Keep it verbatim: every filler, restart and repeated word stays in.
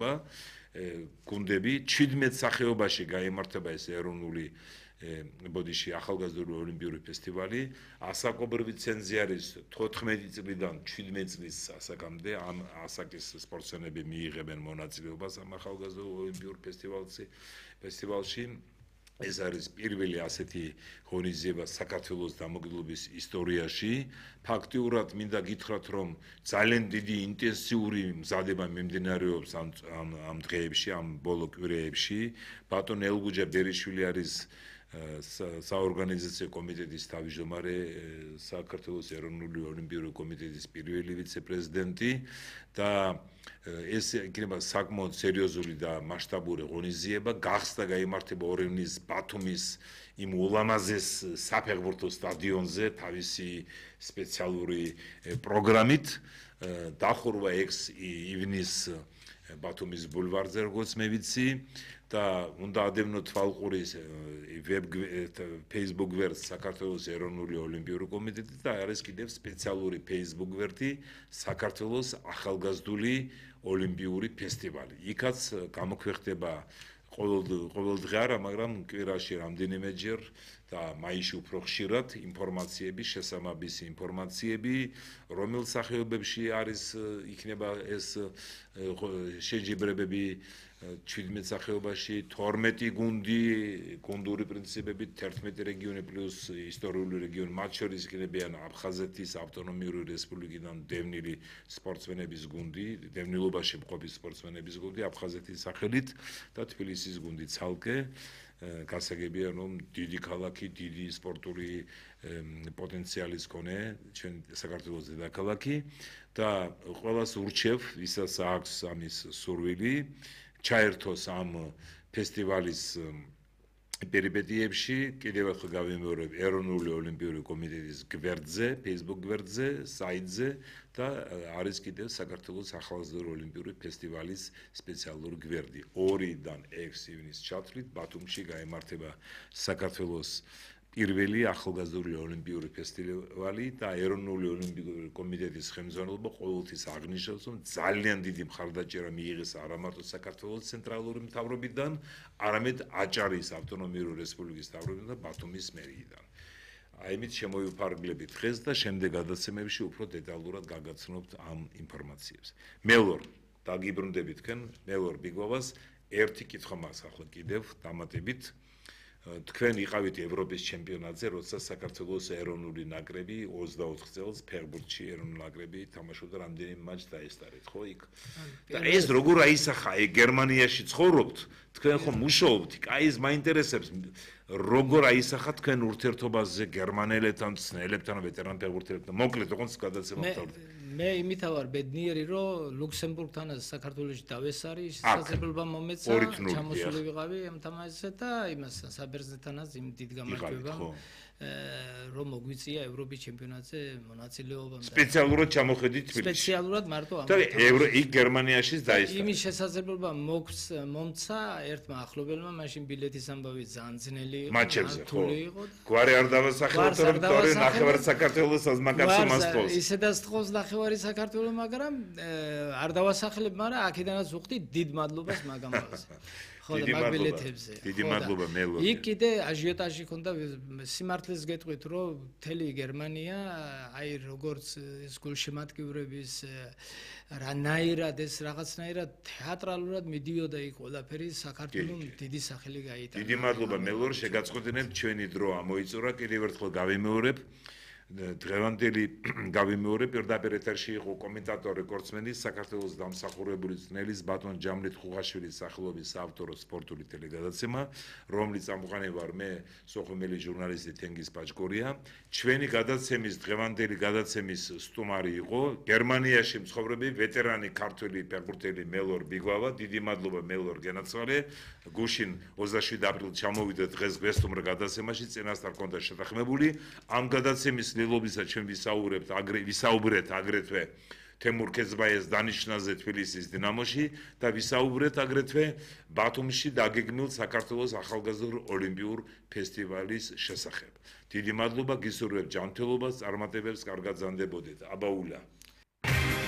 გუნდები ჩვიდმეტ სახეობაში გაიმართება ეს ეროვნული ბოდიში ახალგაზრდული ოლიმპიური ფესტივალი ასაკობრივი ცენზი არის თოთხმეტი წლიდან ჩვიდმეტ წლის ასაკამდე ამ ასაკის სპორტსმენები მიიღებენ მონაწილეობას ამ ახალგაზრდულ ოლიმპიურ ფესტივალში ფესტივალში ეს არის პირველი ასეთი ღონისძიება საქართველოს დამოუკიდებლობის ისტორიაში. ფაქტიურად მინდა გითხრათ, რომ ძალიან დიდი ინტენსიური მზადება მიმდინარეობს ამ ამ დღეებში, ამ ბოლო კვირეებში. ბატონ ელგუჯა ბერიშვილი არის საორგანიზაციო კომიტეტის თავმჯდომარე, საქართველოს ეროვნული ოლიმპიური კომიტეტის პირველი ვიცე-პრეზიდენტი და ეს იქნება საკმაოდ სერიოზული და მასშტაბური ღონისძიება. გახსდა გაიმართება ორი ივნის ბათუმის იმ ულამაზეს საფეხბურთო სტადიონზე თავისი სპეციალური პროგრამით. დახურვა ექვსი ივნის ბათუმის ბულვარზე, როგორც მე ვიცი. და უნდა ადევნოთ თვალყურის ვებ Facebook გვერდს საქართველოს ეროვნული ოლიმპიური კომიტეტი და არის კიდევ სპეციალური Facebook გვერდი საქართველოს ახალგაზრდული ოლიმპიური ფესტივალი. იქაც გამოქვეყნდება ყოველ დღე არა, მაგრამ კვირაში რამდენიმეჯერ და მაისში უფრო ხშირად ინფორმაციები, შესაბამისი ინფორმაციები, რომელ სახეობებში არის იქნება ეს შეჯიბრებები ჩვიდმეტ სახეობაში, თორმეტი გუნდი, გუნდური პრინციპებით, თერთმეტი რეგიონი პლუს ისტორიული რეგიონი, მათ შორის იქნებიან აფხაზეთის ავტონომიური რესპუბლიკიდან დევნილი სპორტსმენების გუნდი, დევნილობაში მყოფი სპორტსმენების გუნდი აფხაზეთის სახელით და თბილისის გუნდი ცალკე. გასაგებია, რომ დიდი ქალაქი, დიდი სპორტული პოტენციალის მქონე ჩვენ საქართველოს დედაქალაქი და ყველას ურჩევ, ვისაც აქვს ამის სურვილი, ჩაერთოს ამ ფესტივალის პერიპეტიებში. კიდევ ერთხელ გავიმეორებ ეროვნული ოლიმპიური კომიტეტის გვერდზე, Facebook გვერდზე, საიტზე და არის კიდევ საქართველოს ახალგაზრდული ოლიმპიური ფესტივალის სპეციალური გვერდი. ორიდან ექვსი ივნის ჩათვლით ბათუმში გაიმართება საქართველოს პირველი ახალგაზრდული ოლიმპიური ფესტივალი და ეროვნული ოლიმპიური კომიტეტის ხელმძღვანელობა ყოველთვის აღნიშნავს, რომ ძალიან დიდი მხარდაჭერა მიიღეს არა მარტო საქართველოს ცენტრალური მთავრობიდან, არამედ აჭარის ავტონომიური რესპუბლიკის მთავრობიდან და ბათუმის მერიიდან. აიმით შემოვიფარგლებით დღეს და შემდეგ გადაცემებში უფრო დეტალურად გაგაცნობთ ამ ინფორმაციებს. მელორ, დაგიბრუნდებით თქვენ, მელორ ბიგვავას ერთი კითხვა მაქვს ახლა კიდევ დამატებით. თქვენ იყავით ევროპის ჩემპიონატზე, როცა საქართველოს ეროვნული ნაკრები ოცდაოთხ წელს ფეხბურთში ეროვნული ნაკრები თამაშობდა რამდენიმე მატჩს დაესტარეთ, ხო იქ? და ეს როგორ აისახა, აი გერმანიაში ცხოვრობთ, თქვენ ხომ მუშაობთ, აი ეს მაინტერესებს, როგორ აისახა თქვენ ურთიერთობაზე გერმანელებთან, ცნელებთან, ვეტერან ფეხბურთელებთან. მოკლედ, როგორც გადაცემა ვთავრთ. მე იმით ვარ ბედნიერი, რომ ლუქსემბურგთან საქართველოში დავესარი, შესაძლებლობა მომეცა, ჩამოსული ვიყავი ამ თამაშზე და იმას საბერძნეთთანაც იმ დიდ გამარჯვებამ რომ მოგვიწია ევროპის ჩემპიონატზე მონაწილეობა. სპეციალურად ჩამოხედით თბილისში. სპეციალურად მარტო ამ. და იქ გერმანიაში დაესწრა. იმის შესაძლებლობა მომცა ერთმა ახლობელმა, მაშინ ბილეთის ამბავი ძალიან ძნელი იყო. მაჩებზე ხო. გვარი არ დავასახელოთ, რომ თორე ნახევარი საქართველოს საზმაკაცო მასწავლს. ისედაც თხოვს ნახევარი საქართველოს, მაგრამ არ დავასახელებ, მაგრამ აქედანაც ვუხდი დიდ მადლობას მაგამბავზე. დიდი მადლობა. დიდი მადლობა მელო. იქ კიდე აჟიოტაჟი ქონდა, სიმართლეს გეტყვით, რომ მთელი გერმანია, აი როგორც ეს გულშემატკივრების რანაირად ეს რაღაცნაირად თეატრალურად მიდიოდა იქ ყველაფერი საქართველოს დიდი სახელი გაიტანა. დიდი მადლობა მელორ, შეგაწყვეტინებთ ჩვენი დრო ამოიწურა, კიდევ ერთხელ გავიმეორებ. დღევანდელი გავიმეორებ, პირდაპირ ეთერში იყო კომენტატორი კორცმენის საქართველოს დამსახურებული ძნელის ბატონ ჯამრით ხუღაშვილის სახელობის საავტორო სპორტული ტელეგადაცემა, რომლის წამყვანი ვარ მე, სოხუმელი ჟურნალისტი თენგიზ პაჭკორია. ჩვენი გადაცემის დღევანდელი გადაცემის სტუმარი იყო გერმანიაში მცხოვრები ვეტერანი ქართველი ფეხბურთელი მელორ ბიგვავა. დიდი მადლობა მელორ გენაცვალე. გუშინ ოცდაშვიდი აპრილს ჩამოვიდა დღეს გვესტუმრა გადაცემაში, წინასწარ ჰქონდა შეთანხმებული. ამ გადაცემის ლილობისა ჩვენ ვისაუბრებთ აგრე ვისაუბრეთ აგრეთვე თემურ ქეცბაიას დანიშნაზე თბილისის დინამოში და ვისაუბრეთ აგრეთვე ბათუმში დაგეგმილ საქართველოს ახალგაზრდულ ოლიმპიურ ფესტივალის შესახებ. დიდი მადლობა, გისურვებთ ჯანმრთელობას, წარმატებებს, კარგად ზანდებოდეთ. აბაულა.